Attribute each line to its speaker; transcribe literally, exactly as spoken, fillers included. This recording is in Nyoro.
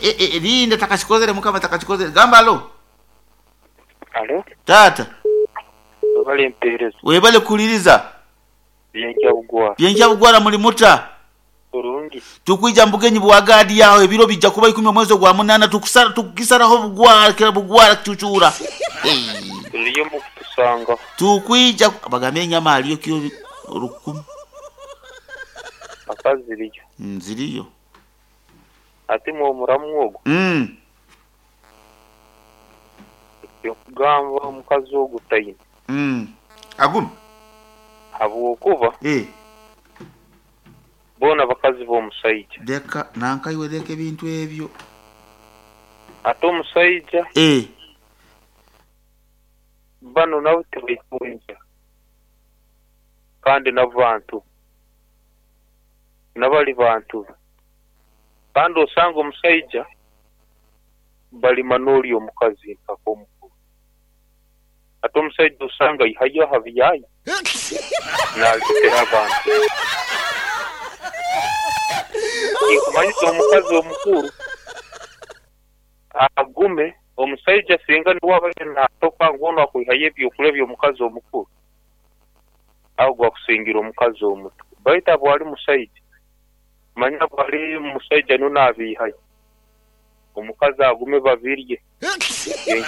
Speaker 1: e, e, linda, takakikozere, mukama takakikozere. Gamba alo.
Speaker 2: Alo.
Speaker 1: Taata.
Speaker 2: Webale empeereza.
Speaker 1: Webale kuliriza.
Speaker 2: Byenkya Bugwara.
Speaker 1: Byenkya Bugwara, muli muta?
Speaker 2: Kurungi.
Speaker 1: Tukwija mbugenyi bwagadi yawe, ebiro bijja kuba ikumi omwezi gwa munana, tukusara tukisaraho Bugwara kira Bugwara kucucura.
Speaker 2: Tuliyo mu kutusanga.
Speaker 1: Tukwija bagambe enyama aliyo kiro rukumi.
Speaker 2: Akaziriyo.
Speaker 1: Nziriyo.
Speaker 2: Ate mwe omuramu ogwo.
Speaker 1: Mm.
Speaker 2: Kugamba omukazi ogwo tayina.
Speaker 1: Mm. Agum.
Speaker 2: Habwokuba.
Speaker 1: Eh.
Speaker 2: Bona bakazi b'omusajja.
Speaker 1: Leka nankaiwe, leka ebintu ebyo.
Speaker 2: Ate omusajja.
Speaker 1: Eh.
Speaker 2: Bano nabo tebeekunja. Kandi n'abantu. N'abali bantu. Kandi osanga omusajja balima n'oli omukazi mpaka omukulu. Ate omusajja osanga ihayo aha byayi. Naalitera abantu. Nkumanyisa omukazi omukulu agume omusajja singa niwe abaire naatoka ngu ono akwihayo ebyokulya by'omukazi omukulu, aho gwakusingira omukazi omuto. Baitu abo ali musajja, manya bwali musajja niwe naabiihayo. Omukazi agume babirye.